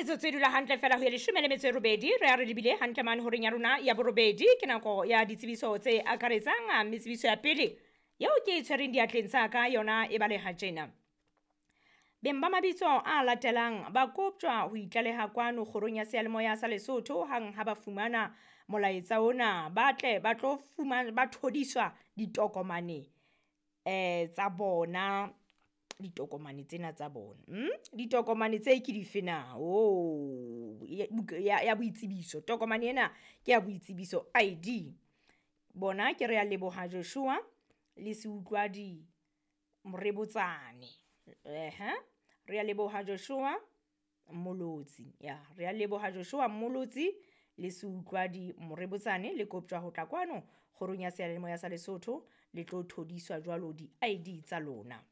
Metsotso e dula hantle fela ho ya 18 re ya re lebile hantle mane horeng ya rona ya borobedi. Ke nako ya ditsebiso tse akaretsang, mme tsebiso ya pele yeo ke e tshwereng diatleng tsa ka yona e baleha tjena. Beng ba mabitso a latelang ba koptjwa ho itlaleha kwano kgorong ya seyalemoya sa Lesotho hang ha ba fumana molaetsa ona, ba tle ba tlo fumana ba thodiswa ditokomane tsa bona, ditokomane tsena tsa bona. Ditokomane tse ke dife na? Oh, ya boitsebiso. Tokomane ena ke ya boitsebiso ID. Bona ke re a leboha Joshua le Seutlwadi Morebotsane. Re a leboha Joshua Mmolotsi. Ya, re a leboha Joshua Mmolotsi le Seutlwadi Morebotsane, le koptjwa ho tla kwano kgorong ya seyalemoya sa Lesotho le tlo thodiswa jwalo di-ID tsa lona.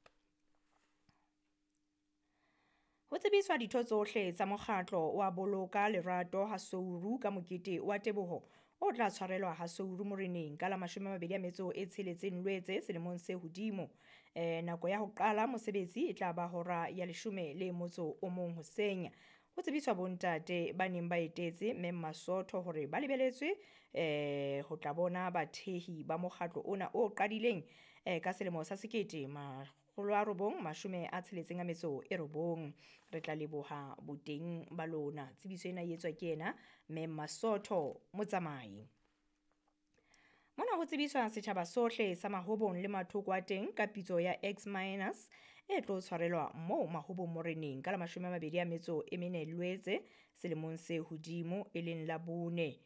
Ho tsebiswa ditho tsohle tsa mokgatlo wa Boloka Lerato ha Souru ka mokete wa teboho o tla tshwarelwa ha Souru Moreneng ka la 26 Lwetse selemong se hodimo. Nako ya ho qala mosebetsi e tla ba hora ya 11 hoseng. Ho tsebiswa bontate ba neng ba etetse Mme Masotho hore ba lebeletswe ho tla bona bathehi ba mokgatlo ona o qadileng ka selemo sa 1969. Re tla leboha boteng ba lona. Tsebiso ena e etswa ke yena Mme Masotho Motsamai. Mona ho tsebiswa setjhaba sohle sa Mahobong le mathoko a teng ka pitso ya X minus e tlo tshwarelwa moo Mahobong Moreneng ka la 24 Lwetse selemong se hodimo, e leng la bone,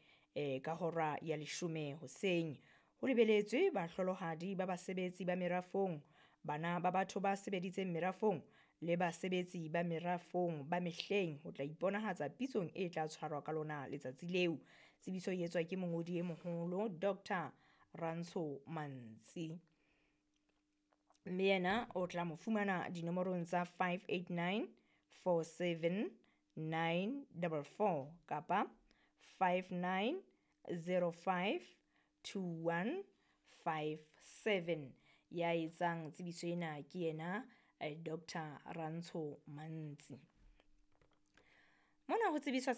ka hora ya 10 hoseng. Ho lebeletswe bahlolohadi ba basebetsi ba merafong, bana ba batho ba sebeditseng merafong le basebetsi ba merafong ba mehleng ho tla iponahatsa pitsong e tla tshwarwa ka lona letsatsi leo. Tsebiso e etswa ke mongodi e moholo Dr. Rantsho Mantsi. Mme yena o tla mo fumana dinomorong tsa 589 47 944 kapa 5905 2157. Ya etsang tsebiso ena ke yena Dr. Rantsho Mantsi. Mona ho tsebiswa